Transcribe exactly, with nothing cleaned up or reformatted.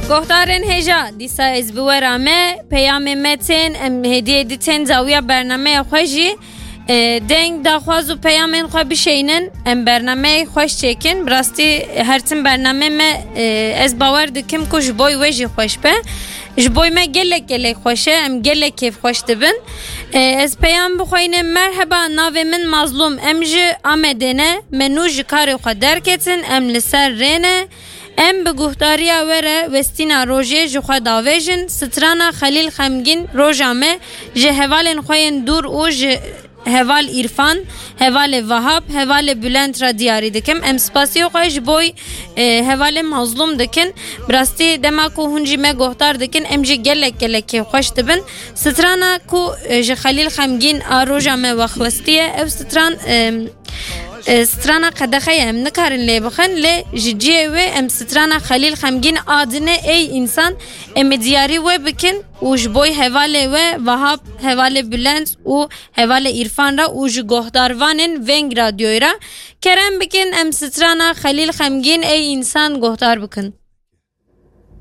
Gohdarên hêja, dîsa ez bi we re me, peyamê me tên, em hêdî hêdî tên zawiya bernameya xwe jî. E, deng, daxwaz û peyamên xwe bişeynin, em bernameyê xweş çêkin. Bi rastî her tim bernamê me, e, ez bawer dikim ku ji bo we jî xweş be. Ji bo me gelek gelek xweş e, em gelek kêfxweş dibin. E, ez peyam bixweynim, merheba, navê min Mazlûm, em ji Amedê ne, me nû ji karê xwe derketin, em li ser rê ne. Em bi guhdariya we re westîna rojê ji xwe davêjin. Strana Xelîl Xemgîn, roja me, ji hevalên xwe yên dûr û ji heval Îrfan, hevalê Vahap, hevalê Bülent re diyarî dikim. Em spasiya xwe ji bo, e, hevalê Mazlûm dikin. Bi rastî dema ku hûn jî me guhdar dikin, em jî gelek gelek kêfxweş dibin. Strana ku, e, ji Xelîl Xemgîn a roja me wexwestiye, ew stran, e, e, strana qedexe ye, em nikarin lê bixin, lê ji cihê wê em strana Xelîl Xemgîn a dinê ey însan, em ê diyarî we bikin û ji bo hevalê we Vahap, hevalê Bülent û hevalê Îrfan re û ji gohdarvanên Veng Radyoyê re kerem bikin, em strana Xelîl Xemgîn ey însan gohdar bikin.